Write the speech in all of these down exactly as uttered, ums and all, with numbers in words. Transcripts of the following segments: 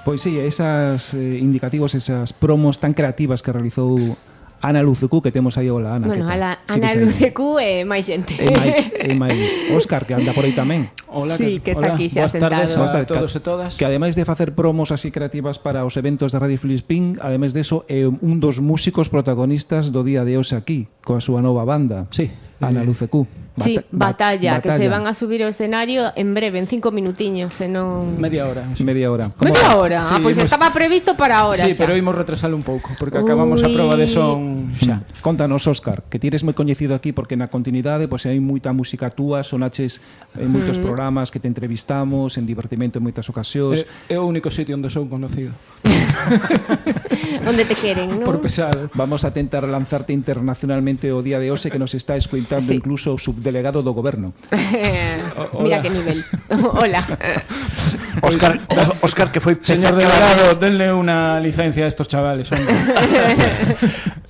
Pois sí, esas eh, indicativos, esas promos tan creativas que realizou Ana Lucecu, que temos aí. Hola, Ana. Bueno, Ana sí Lucecu e máis xente. E máis, e máis Óscar, que anda por aí tamén. Hola, sí, que, que está hola. aquí xa sentado. Boas tardes a todos e todas. Que ademais de facer promos así creativas para os eventos de Radio Filispín, ademais de eso, é un dos músicos protagonistas do día de hoxe aquí, coa súa nova banda. Sí. Ana Lucecu. Bata sí, batalla, batalla, que se van a subir ao escenario en breve, en cinco minutiños, senón... Media hora. Sí. Media hora. Media hora? Sí, ah, pois pues hemos... estaba previsto para ahora Sí, xa. pero imos retrasalo un pouco, porque acabamos Uy. a proba de son xa. Contanos, Óscar, que ti eres moi coñecido aquí porque na continuidade pois hai moita música túa, sonaches en moitos mm. programas que te entrevistamos, en divertimento en moitas ocasións. É, é o único sitio onde son conocido. Onde te queren, non? Por pesado. Vamos a tentar lanzarte internacionalmente o día de hoxe, que nos está escoitando sí. incluso o subdelegado do goberno. Mira que nivel. Hola. Óscar, Óscar que foi señor delegado, denle unha licencia a estos chavales.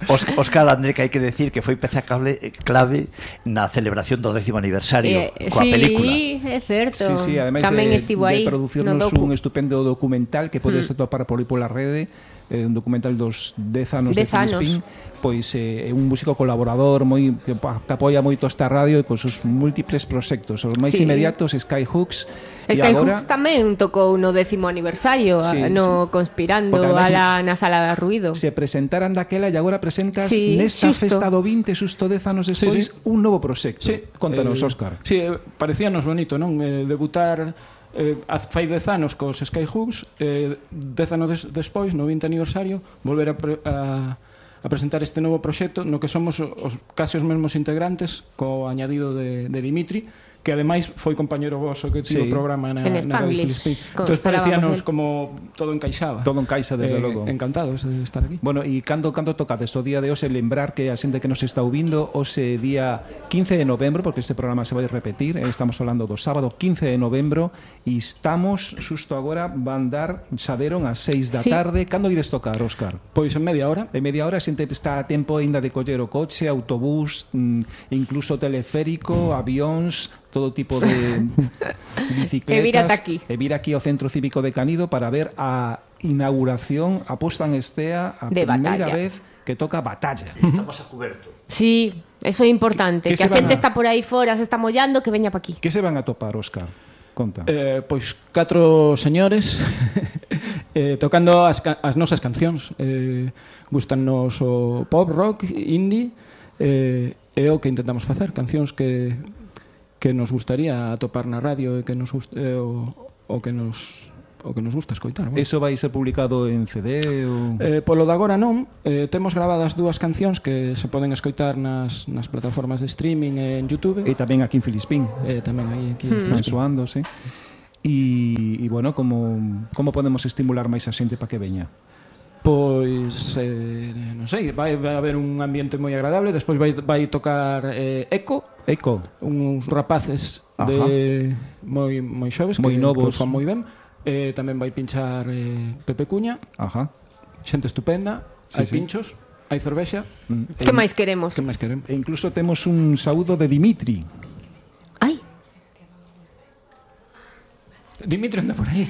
Óscar André, que hai que decir que foi peza clave, clave na celebración do décimo aniversario eh, coa sí, película. Sí, é certo. Sí, sí, ademais tamén de, estivo aí de producirnos un estupendo documental que podes mm. atopar por aí pola rede, eh, un documental dos dez anos de Filispín, pois é eh, un músico colaborador moi que, que apoia moito esta radio e cos seus múltiples proxectos. Os máis sí. inmediatos, Skyhooks. Skyhooks agora... tamén tocou no décimo aniversario, sí, no sí. Conspirando a la, na Sala de Ruido. Se presentaran daquela e agora presentas sí, nesta xusto. festa do vinte, xusto dez anos despois, sí, sí. un novo proxecto. Sí. Contanos, eh, Óscar. Sí, parecíanos bonito, non? Eh, debutar eh, fai dez anos cos Skyhooks, eh, dez anos des, despois, no vinte aniversario, volver a... Pre, a a presentar este novo proxecto no que somos os case os mesmos integrantes co añadido de, de Dimitri, que ademais foi compañero voso que tivo sí. o programa na, en na Radio Filispín. Entón parecíanos como todo encaixaba. Todo encaixa, desde eh, logo. Encantados de estar aquí. Bueno, e cando, cando tocades o día de hoxe, lembrar que a xente que nos está ouvindo hoxe día quince de novembro, porque este programa se vai repetir, estamos falando do sábado quince de novembro, e estamos, xusto agora, van dar, saberon, ás seis da sí. tarde. Cando ides tocar, Óscar? Pois en media hora. En media hora, a xente está a tempo ainda de coller o coche, autobús, incluso teleférico, avións, todo tipo de bicicletas. E vir ata aquí. E vir aquí ao Centro Cívico de Canido para ver a inauguración, a posta en estea, a de primeira batalla. vez que toca Batalla. Estamos a cuberto. Sí, eso é importante, que, que a xente a... está por aí fora, se está mollando, que veña pa aquí. Que se van a topar, Óscar? Conta. Eh, pois catro señores eh, tocando as, as nosas cancións. Eh, gustannos o pop, rock, indie, eh, é o que intentamos facer, cancións que que nos gustaría atopar na radio e que nos gusta, eh, o, o que nos o que nos gusta escoitar. Bueno. Eso vai ser publicado en C D ou... Eh, polo de agora non, eh, temos gravadas dúas cancións que se poden escoitar nas, nas plataformas de streaming e en YouTube. E tamén aquí en Filispín. Eh, tamén aí aquí hmm. están soando, sí. E, e bueno, como, como podemos estimular máis a xente para que veña? Pois, eh, non sei, vai, vai haber un ambiente moi agradable. Despois vai, vai tocar eh, Eco Eco, uns rapaces de moi, moi xoves moi que, novos, que fan moi ben. Eh, tamén vai pinchar eh, Pepe Cuña. Ajá. Xente estupenda, sí, hai sí. pinchos, hai cervexa. Mm. Que máis queremos? Que máis queremos? E incluso temos un saúdo de Dimitri. Ai. Dimitri anda por aí.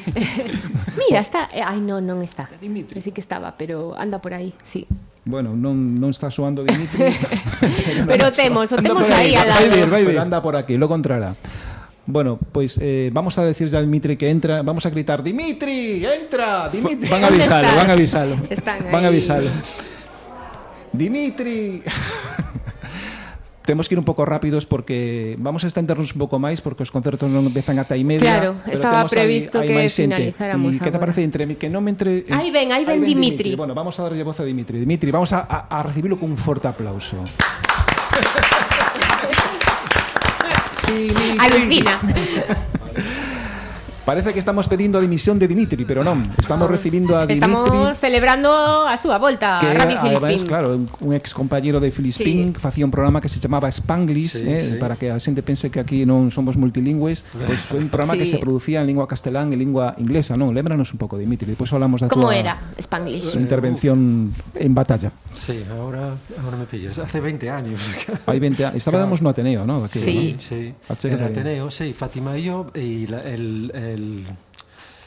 Mira, está... Ai, non, non está. Dimitri. Pensei que estaba, pero anda por aí, sí. Bueno, non, non está soando Dimitri. Pero temos, o temos aí al lado. Vai vir, vai vir. Pero anda por aquí, lo encontrará. Bueno, pues eh, vamos a decir ya a Dimitri que entra. Vamos a gritar: Dimitri, entra, Dimitri. Van a avisalo, van a avisalo. Están aí. Van a avisalo. Dimitri. Temos que ir un pouco rápidos porque vamos a estendernos un pouco máis porque os concertos non empezan ata e media. Claro, estaba previsto que finalizáramos. E que te parece entre que non me entre Aí ven, aí ven Dimitri. Bueno, vamos a darlle voz a Dimitri. Dimitri, vamos a, a, a recibirlo con un forte aplauso. Alucina. Parece que estamos pedindo a dimisión de Dimitri, pero non, estamos recibindo a Dimitri. Estamos celebrando a súa volta a Radio Filispín. Claro, un ex compañero de Filispín, sí, que facía un programa que se chamaba Spanglish, sí, eh, sí, para que a xente pense que aquí non somos multilingües, pois pues foi un programa sí, que se producía en lingua castelán e lingua inglesa, non? Lémbranos un pouco, Dimitri, depois falamos da Como tua era Spanglish? Intervención en batalla. Sí, ahora, ahora me pillas. Hace veinte años. Hai veinte años. Estábamos no Ateneo, ¿no? Aquí, sí. ¿no? Sí, en el Ateneo, sí, Fátima y yo, y la, el, el,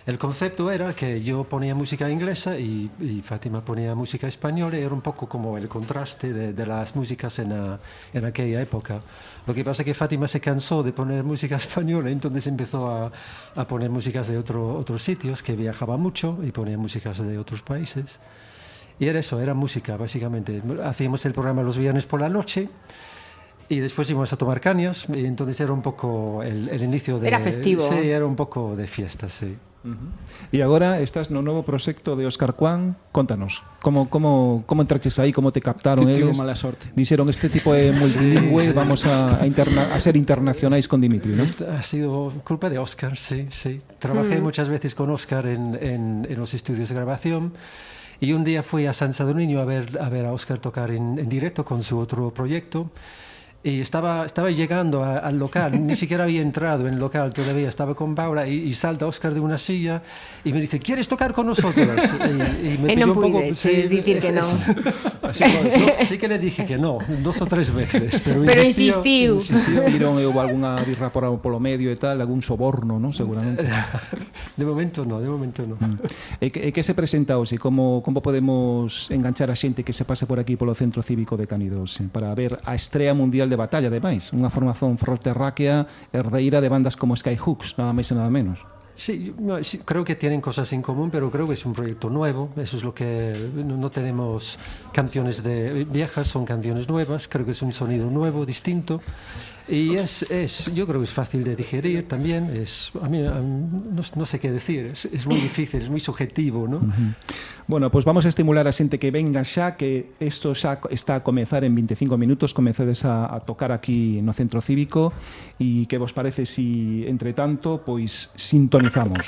el concepto era que yo ponía música inglesa y, y Fátima ponía música española, y era un poco como el contraste de, de las músicas en, a, en aquella época. Lo que pasa es que Fátima se cansó de poner música española, entonces empezó a, a poner músicas de otro, otros sitios, que viajaba mucho y ponía músicas de otros países. Y era eso, era música, básicamente. Hacíamos el programa los viernes por la noche y después íbamos a tomar cañas, y entonces era un poco el, el inicio de... Era festivo. Sí, era un pouco de fiesta, sí. Uh-huh. E agora estás no novo proxecto de Óscar Cuán. Contanos, como, como, como entraches aí, como te captaron Tivo eles? mala sorte. Dixeron, este tipo é multilingüe, vamos a, a, interna, a ser internacionais con Dimitri, ¿no? Ha sido culpa de Óscar, sí, sí. Trabajé mm. muchas veces con Óscar en, en, en los estudios de grabación. Y un día fui a San Sadurniño a ver a, ver a Óscar tocar en, en directo con su otro proyecto. Y estaba, estaba llegando a, al local, ni siquiera había entrado en el local todavía, estaba con Paula, y, y salta Óscar de una silla y me dice, ¿quieres tocar con nosotros? Y, y me e pidió non un poco... pude, sí, decir que no. Así, pues, no. Sí que le dije que no, dos o tres veces, pero, pero insistió. insistiu. Insistiron, e houve algunha birra por, polo medio e tal, algún soborno, ¿no? Seguramente. De momento no, de momento no. Mm. E, que, e que se presenta hoxe? Como, como podemos enganchar a xente que se pase por aquí polo Centro Cívico de Canidos para ver a estrea mundial de batalla, ademais? Unha formación ferroterráquea herdeira de bandas como Skyhooks, nada máis e nada menos. Sí, no, sí, creo que tienen cosas en común, pero creo que es un proyecto nuevo. Eso es lo que no, no tenemos canciones de viejas, son canciones nuevas. Creo que es un sonido nuevo, distinto. Y es, es, yo creo que es fácil de digerir también. Es, a mí, a mí no, no sé qué decir, es, es muy difícil, es muy subjetivo, ¿no? Uh-huh. Bueno, pues vamos a estimular a xente que venga xa, que isto xa está a comezar en veinticinco minutos, comecedes a, a tocar aquí no Centro Cívico, e que vos parece si, entre tanto, pois sintonizamos.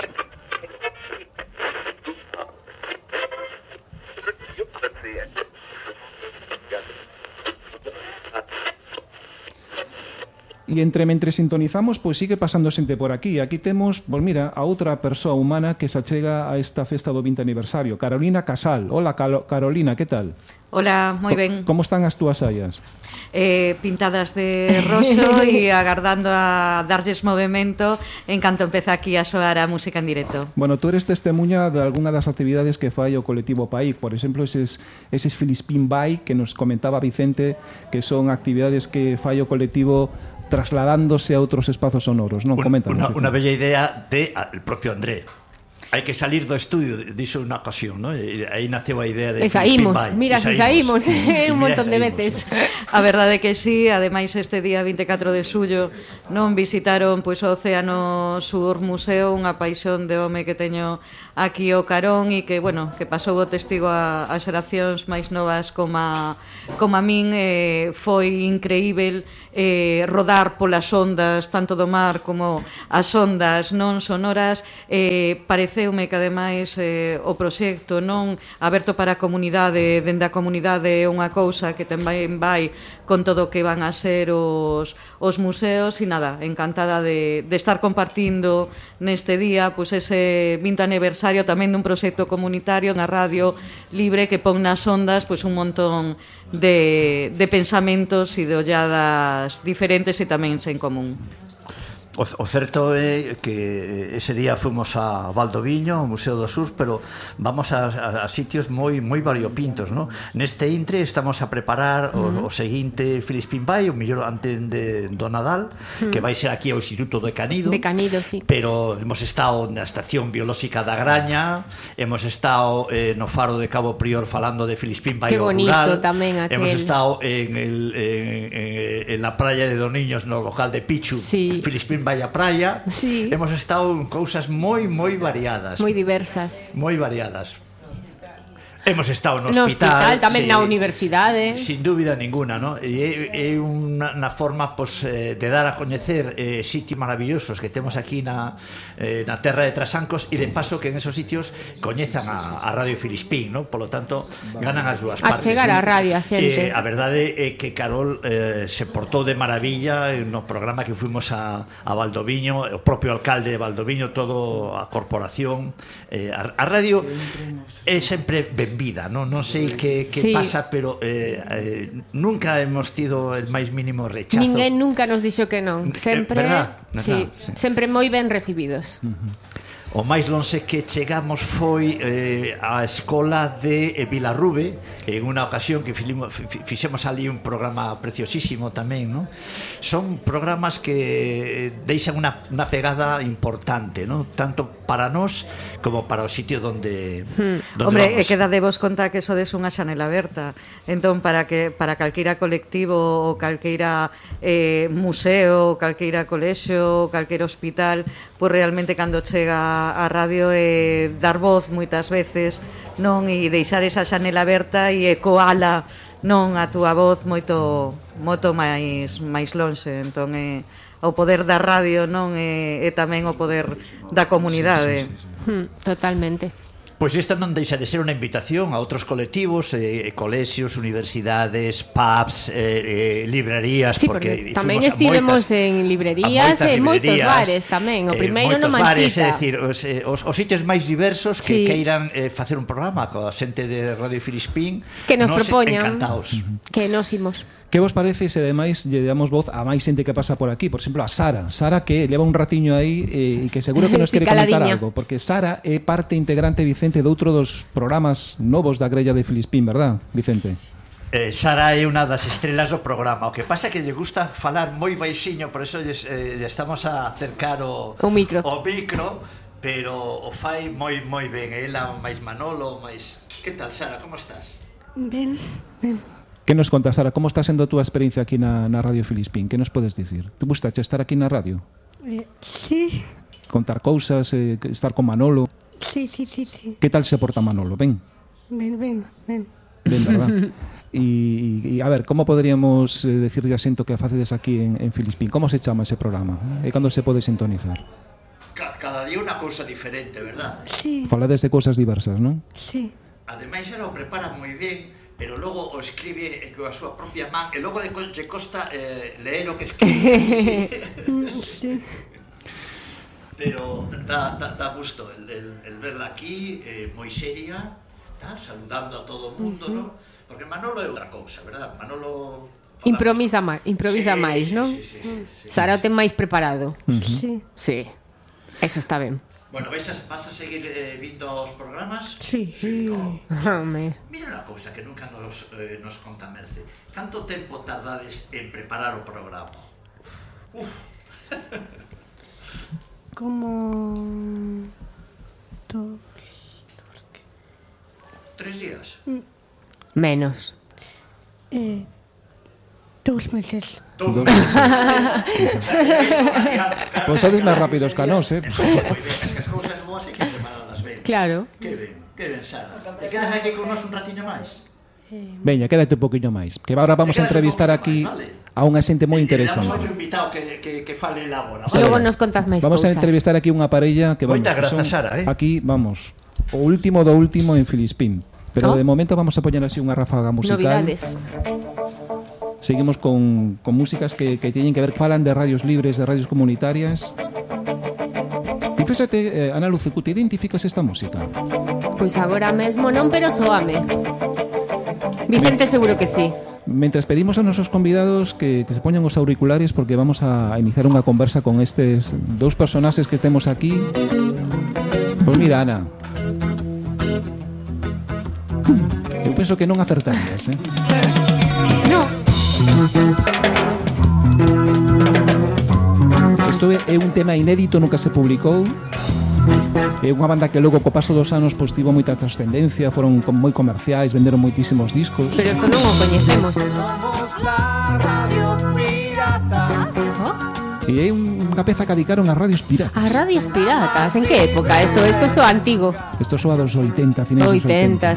E entre mentre sintonizamos, pois sigue pasando xente por aquí. Aquí temos, pois mira, a outra persoa humana que se achega a esta festa do vinte aniversario, Carolina Casal. Hola, Calo- Carolina, que tal? Hola, moi ben. Como están as túas saias? Eh, pintadas de roso e agardando a darlles movimento en canto empeza aquí a soar a música en directo. Bueno, tú eres testemunha de alguna das actividades que fai o colectivo P A I. Por exemplo, eses, eses Filispín Bay que nos comentaba Vicente, que son actividades que fai o colectivo trasladándose a outros espazos sonoros, non? Coméntanos. Una, una bella idea de el propio André. Hai que salir do estudio, dixo unha ocasión, ¿no? E aí naceu a idea de... E saímos, mira, se saímos un montón de veces. A verdade é que sí, ademais este día vinte e catro de xullo non visitaron pois o Océano Sur Museo, unha paixón de home que teño aquí o carón e que, bueno, que pasou o testigo a, a xeracións máis novas como a, como a min, eh, foi increíble eh, rodar polas ondas tanto do mar como as ondas non sonoras. eh, pareceume que ademais eh, o proxecto non aberto para a comunidade, dende a comunidade é unha cousa que tamén vai con todo o que van a ser os, os museos e nada, encantada de, de estar compartindo neste día pois ese vinte aniversario tamén dun proxecto comunitario na radio libre que pon nas ondas pois un montón de, de pensamentos e de olladas diferentes e tamén sen común. O, o certo é que ese día fomos a Valdoviño, ao Museo do Sur, pero vamos a, a, a sitios moi moi variopintos, ¿no? Neste intre estamos a preparar o, uh-huh. o seguinte Filispín Bay, o mellor antes de, do Nadal, uh-huh. que vai ser aquí ao Instituto de Canido. De Canido, sí. Pero hemos estado na Estación Biolóxica da Graña, hemos estado eh, no Faro de Cabo Prior falando de Filispín Bay rural. Qué bonito tamén aquel. Hemos estado en, el, en, en, en la playa de Doniños, no local de Pichu, sí. Filispín Bay a praia, sí. Hemos estado en cousas moi, moi variadas. Moi diversas. Moi variadas. Hemos estado no hospital. No hospital, tamén sí, na universidade. Sin dúbida ninguna, ¿no? E é unha na forma pues, eh, de dar a coñecer eh, sitios maravillosos que temos aquí na, eh, na terra de Trasancos e de paso que en esos sitios coñezan a, a Radio Filispín, ¿no? Por lo tanto, ganan as dúas partes. A chegar a radio a xente. Eh, a verdade é que Carol eh, se portou de maravilla no programa que fuimos a, a Valdoviño, o propio alcalde de Valdoviño, todo a corporación. Eh, a, a radio é sempre ben vida, non, non sei que, que sí. pasa, pero eh, eh, nunca hemos tido el máis mínimo rechazo. Ninguén nunca nos dixo que non. Sempre, eh, verdad, sí, sí. sempre moi ben recibidos. Uh-huh. o máis lonxe que chegamos foi eh, a escola de eh, Vilarrube, en unha ocasión que filimo, fixemos ali un programa preciosísimo tamén, ¿no? Son programas que deixan unha, unha pegada importante, ¿no? Tanto para nós como para o sitio donde, hmm. donde Hombre, vamos. e queda de vos conta que sodes unha xanela aberta. Entón, para que para calqueira colectivo ou calqueira eh, museo, calqueira colexio, calqueira hospital, pois realmente cando chega a radio é dar voz moitas veces, non, e deixar esa xanela aberta e ecoala, non, a túa voz moito moito máis máis lonxe. Entón é o poder da radio, non, e, e tamén o poder da comunidade. Sí, sí, sí, sí. Hmm, totalmente. Pois isto non deixa de ser unha invitación a outros colectivos, eh, colexios, universidades, pubs, eh, eh, librerías, sí, porque, porque tamén estivemos moitas, en librerías e moitos bares tamén. O primeiro eh, no Manchita. É dicir, os, eh, os, os sitios máis diversos que sí. queiran eh, facer un programa coa xente de Radio Filispín, que nos, nos propoñan, encantados. Que nos imos. Que vos parece se ademais lle damos voz a máis xente que pasa por aquí? Por exemplo, a Sara. Sara que leva un ratiño aí e eh, que seguro que nos quere comentar algo, porque Sara é parte integrante, Vicente, de outro dos programas novos da grella de Filispín, verdad, Vicente? Eh, Sara é unha das estrelas do programa. O que pasa é que lle gusta falar moi baixiño, por eso lle, eh, lle estamos a acercar o, o micro. O micro, pero o fai moi moi ben. Ela máis Manolo, máis... Que tal, Sara? Como estás? Ben, ben. Que nos contas, Sara? Como está sendo a túa experiencia aquí na, na Radio Filispín? Que nos podes dicir? Te gustache estar aquí na radio? Eh, sí. Contar cousas, eh, estar con Manolo? Sí, sí, sí, sí. Que tal se porta Manolo? Ben? Ben, ben, ben. Ben, verdad? E, a ver, como poderíamos eh, decirlle a xento que facedes aquí en, en Filispín? Como se chama ese programa? E cando se pode sintonizar? Cada día unha cousa diferente, verdad? Sí. Falades de cousas diversas, non? Sí. Ademais, ela o prepara moi ben, pero logo o escribe coa súa propia man e logo lle costa eh, leer o que escribe. Sí. Sí. Pero dá, dá, dá gusto el, el, el verla aquí, eh, moi seria, tá? Saludando a todo o mundo, uh-huh. ¿no? Porque Manolo é outra cousa, verdad? Manolo... Improvisa máis, improvisa sí, máis, sí, non? Sí, sí, sí, sí, Sara o ten máis preparado. Uh-huh. Sí. Sí, eso está ben. Bueno, vais a, vas a seguir eh, vindo os programas? Sí. Sí, no. Home. Mira unha cousa que nunca nos, eh, nos conta Merce. Canto tempo tardades en preparar o programa? Uf. Como... Dos... Tres días? Menos. Eh... Dos meses. Dos meses. Pois sodes máis rápidos que a nós, eh? Moi ben, es que as cousas boas hai que prepararlas ben. Claro. Que ben, que ben, Sara. Te quedas aquí con nós un ratiño máis? Veña, quédate un poquinho máis, que agora vamos a entrevistar aquí máis, vale? A unha xente moi interesante. Temos outro invitado que, que, que fale agora. Vale? Logo nos contas máis Vamos cousas. a entrevistar aquí unha parella que vamos, moitas grazas, Sara, eh? Aquí, vamos, o último do último en Filispín. Pero oh. de momento vamos a poñer así unha ráfaga musical. Novidades. Seguimos con, con músicas que, que teñen que ver, falan de radios libres, de radios comunitarias. E fíxate, eh, Ana Lucecu, te identificas esta música? Pois agora mesmo non, pero soame. Vicente seguro que sí. Mentras pedimos a nosos convidados que, que se poñan os auriculares porque vamos a iniciar unha conversa con estes dous personaxes que temos aquí. Pois mira, Ana, eu penso que non acertarías, eh? No. Isto é un tema inédito, nunca se publicou. É unha banda que logo co paso dos anos pois tivo moita trascendencia, foron moi comerciais, venderon moitísimos discos. Pero isto non o coñecemos. Somos la radio pirata. Oh? E é unha peza que dedicaron a radios piratas. A radios piratas, en que época? Isto isto soa antigo. Isto soa dos oitenta, finais dos oitenta. oitenta.